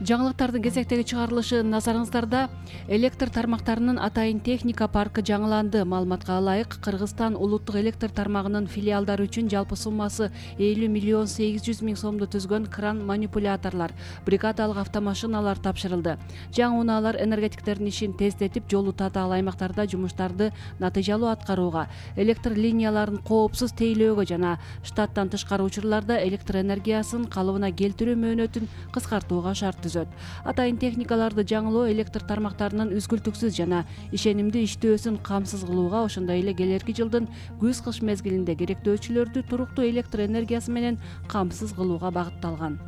Жаңылыктардын кезектеги чыгарылышы назарыңыздарда. Электр тармактарынын атайын техника паркы жаңыланды. Маалыматка ылайык, Кыргызстан улуттук электр тармагынын филиалдары үчүн жалпы суммасы 50 миллион 800 миң сомду түзгөн кран манипуляторлор, бригадалык автомашиналар тапшырылды. Жаңы унаалар энергетиктердин ишин тездетип, жолу татаал аймактарда жумуштарды натыйжалуу аткарууга, электр линияларын коопсуз тейлөөгө жана штаттан тышкары учурларда электр энергиясын калыбына келтирүү мөөнөтүн кыскартууга шарт түзөт. Атайын техникаларды жаңылоо электр тармактарынын үзгүлтүксүз жана ишенимдүү иштөөсүн камсыз кылууга, ошондой эле келерки жылдын күз-кыш мезгилинде керектөөчүлөрдү туруктуу электр энергиясы менен камсыз кылууга багытталган.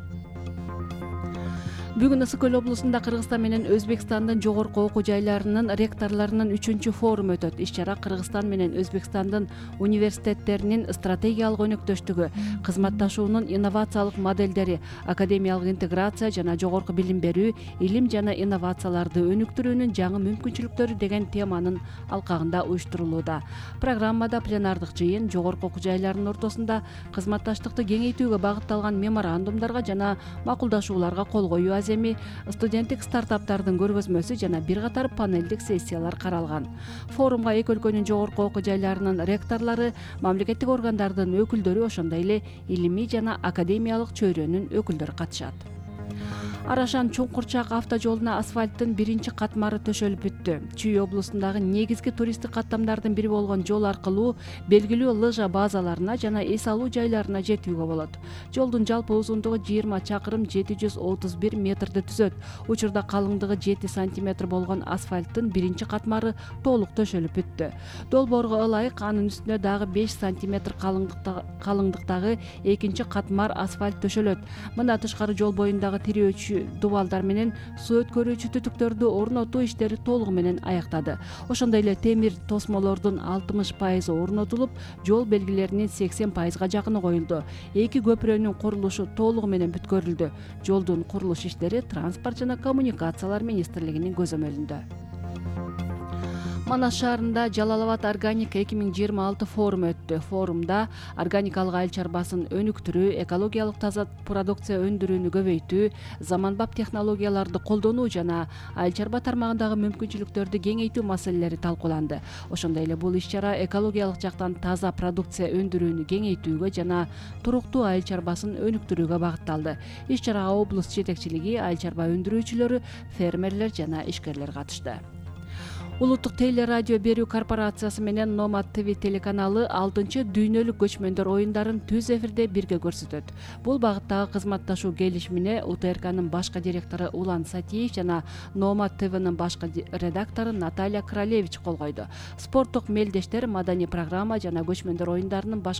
Бүгүн Ысык Көл облусунда Кыргызстан менен Өзбекстандын жогорку окуу жайларынын ректорлорунун 3-чү форуму өтөт. Иш-чара Кыргызстан менен Өзбекстандын университеттеринин стратегиялык өнөктөштүгү, кызматташуунун инновациялык модельдери, академиялык интеграция жана жогорку билим берүү, илим жана инновацияларды өнүктүрүүнүн жаңы мүмкүнчүлүктөрү деген теманын алкагында уюштурулууда. Программада пленардык жыйын жогорку окуу жайларынын ортосунда кызматташтыкты кеңейтүүгө багытталган меморандумдарга жана макулдашууларга кол коюу эми студенттик стартаптардын көргөзмөсү жана бир катар панелдик сессиялар каралган. Форумга эки өлкөнүн жогорку окуу жайларынын ректорлору, мамлекеттик органдардын өкүлдөрү, ошондой эле илимий жана академиялык чөйрөнүн өкүлдөрү катышат. Арашан Чуңкурчак автожолуна асфальттын биринчи катмары төшөлүп бүттү. Чүй облусундагы негизги туристтик каттамдардын бири болгон жол аркылуу белгилүү лыжа базаларына жана эс алуу жайларына жетүүгө болот. Жолдун жалпы узундугу 20 чакырым 731 метрди түзөт. Учурда калыңдыгы 7 сантиметр болгон асфальттын биринчи катмары толук төшөлүп бүттү. Долбоорго ылайык, анын үстүнө дагы 5 сантиметр калыңдыктагы экинчи катмар асфальт төшөлөт. Мындан тышкары жол боюндагы тирөөчү дубалдар менен суу өткөрүүчү түтүктөрдү орнотуу иштери толугу менен аяктады. Ошондой эле темир тосмолордун 60% орнотулуп, жол белгилеринин 80%га жакыны коюлду. Эки көпүрөнүн курулушу толугу менен бүткөрүлдү. Жолдун курулуш иштери Транспорт жана коммуникациялар министрлигинин көзөмөлүндө. Манас шаарында Жалал-Абад органика 2026 форуму өттү. Форумда органикалык айыл чарбасын өнүктүрүү, экологиялык таза продукция өндүрүүнү көбөйтүү, заманбап технологияларды колдонуу жана айыл чарба тармагындагы мүмкүнчүлүктөрдү кеңейтүү маселелери талкууланды. Ошондой эле бул иш-чара экологиялык жактан таза продукция өндүрүүнү кеңейтүүгө жана туруктуу айыл чарбасын өнүктүрүүгө багытталды. Иш-чарага облус жетекчилиги, айыл чарба өндүрүүчүлөрү, фермерлер жана ишкерлер катышты. Улуттук телерадио берүү корпорациясы менен Nomad TV телеканалы 6-дүйнөлүк көчмөндөр оюндарын түз эфирде бирге көрсөтөт. Бул багыттагы кызматташуу келишимине УТРКнын башкы директору Улан Сатиев жана Nomad TVнын башкы редактору Наталья Кралевич кол койду. Спорттук мелдештер, маданий программа жана көчмөндөр оюндарынын